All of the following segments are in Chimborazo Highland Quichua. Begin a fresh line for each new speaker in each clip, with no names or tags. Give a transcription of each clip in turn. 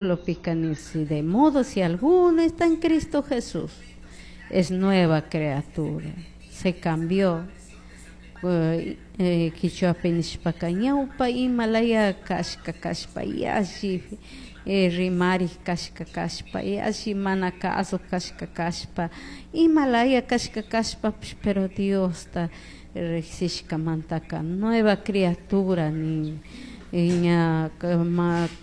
Versículo de modo si alguno está en Cristo Jesús, es nueva criatura, se cambió. Quichuapi nishpaka ñawpa imalaya kashka kashpa yalli rimarik kashka kashpa yalli mana kasuk kashka kashpa imalaya kashka kashpapish, pero Diosta riksishkamantaka nueva criatura nin, ña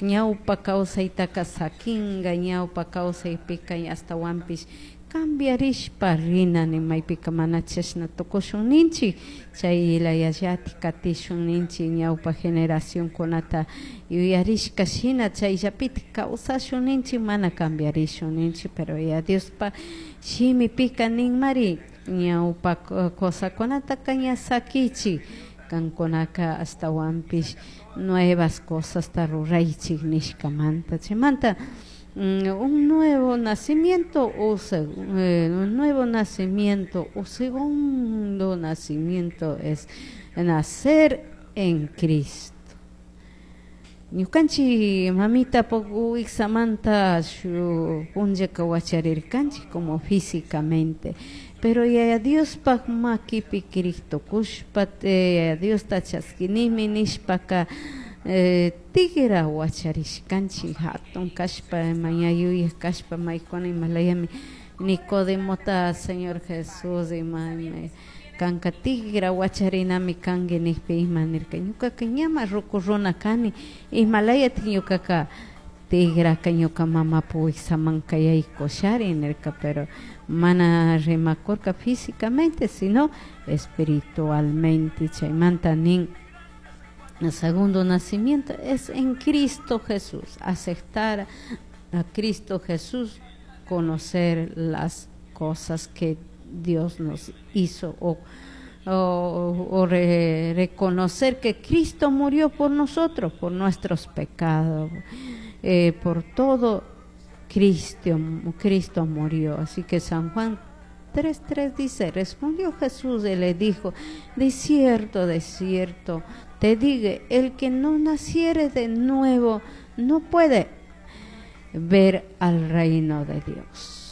ñawpa kawsaytaka sakinga, ñawpa kawsaypika ashtawanpish cambiarishpa rina nin, maypika mana chashna tukushun ninchik, chay layallatik katishun ninchik, ñawpa generacionkunata yuyarishka shina chayllapitik kawsashun ninchik, mana cambiarishun ninchik. Pero ya Diospa shimipika ninmari ñawpa cosacunataka ña sakichik, kankunaka ashtawanpish nuevas cosasta ruraychik nishkamanta. Chaymanta un nuevo nacimiento o un nuevo nacimiento o segundo nacimiento es nacer en Cristo. Ñukanchik mamita wiksamanta shu punllaka wacharirkanchik como físicamente, pero Yaya Diospaj makipi Cristo kushpa, Yaya Diosta chaskinimi nishpaka tigra wacharishkanchik hatun kashpa, maña yuyak kashpa, maykuna imalayami Nicodemota Señor Jesús ima kanka tigra wacharinami kanki nikpi ima nirka, ñukaka ñama ruku runa kani, imalayatik ñukaka tigraka ñuka mamapu wiksamanka yaykushari nirka, pero mana rimakurka físicamente sino espiritualmente. Chaymanta nin, el segundo nacimiento es en Cristo Jesús, aceptar a Cristo Jesús, conocer las cosas que Dios nos hizo o reconocer que Cristo murió por nosotros, por nuestros pecados, por todo Cristo murió. Así que San Juan 3:3 dice, respondió Jesús y le dijo, de cierto, te digo, el que no naciere de nuevo no puede ver al reino de Dios.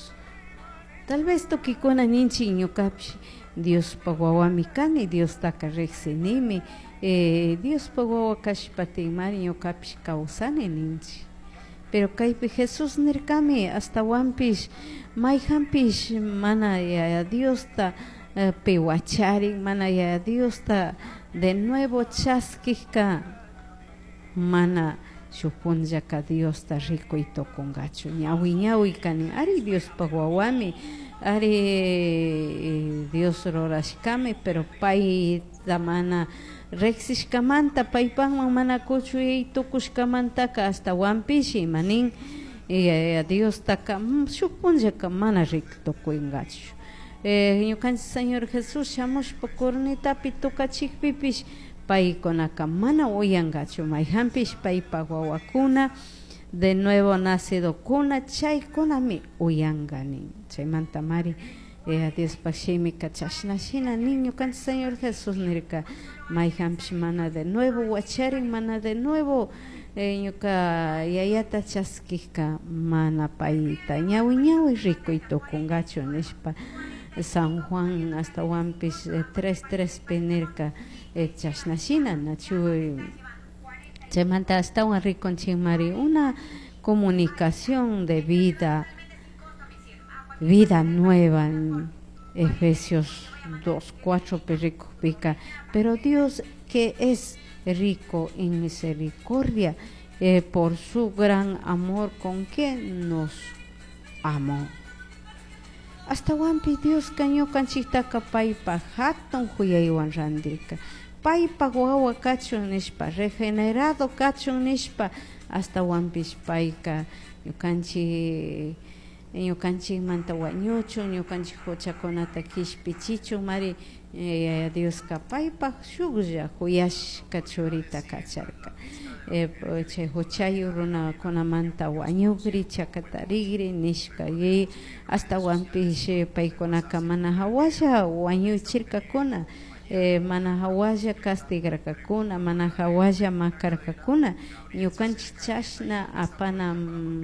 Tal vez tukikuna ninchik ñukapish Diospaj wawami kani, Diostaka riksinimi, Diospaj wawa kashpatinmari ñukapish kawsani ninchik. Pero kaypi Jesús nirkami ashtawanpish mayjanpish mana Yaya Diosta piwacharin, mana Yaya Diosta de nuevo chaskijka mana shuk punllaka Diosta rikuy tukunkachu. Ñawi ñawi kani, ari Diospaj wawami, ari Dios rurashkami, pero payta mana riksishkamanta, paypajman mana kuchuy tukushkamantaka ashtawanpish imanin Diostaka shuk punllaka mana rikuy tukunkachu. Ñukanchik Señor Jesús shamushpa cornetapi tukachikpipish paykunaka mana uyankachu, mayjanpish paypaj wawakuna de nuevo nacidokuna chaykunami uyanka nin. Chaymanta mari Diospaj shimika chashna shina nin ñukanchik Señor Jesús nirka, mayjanpish mana de nuevo wacharin, mana de nuevo ñuka yayata chaskijka mana payta ñawi ñawi rikuy tukunkachu nishpa. San Juan ashtawanpish 3:3 nirka chashna shina nachu. Chaymanta ashtawan rikunchikmari una comunicación de vida, vida nueva en Efesios 2:4 rikukpika, pero Dios que es rico en misericordia, por su gran amor con que nos amó. Ashtawanpi Dioska ñukanchiktaka paypaj hatun huyaywan randirka, paypaj wawa kachun nishpa, regenerado kachun nishpa, ashtawanpish payka ñukanchik ñukanchikmanta wañuchun, ñukanchik huchakunata kishpichichun mari Yaya Dioska paypaj shuklla huyashka churita kacharka, chay huchayu runakunamanta wañukri chakatarikri nishka, y ashtawanpish paykunaka mana hawalla wañuchirkakuna. eh, mana jahualla castigarkakuna, mana jahualla makarkakuna, ñukanchik chashna apana.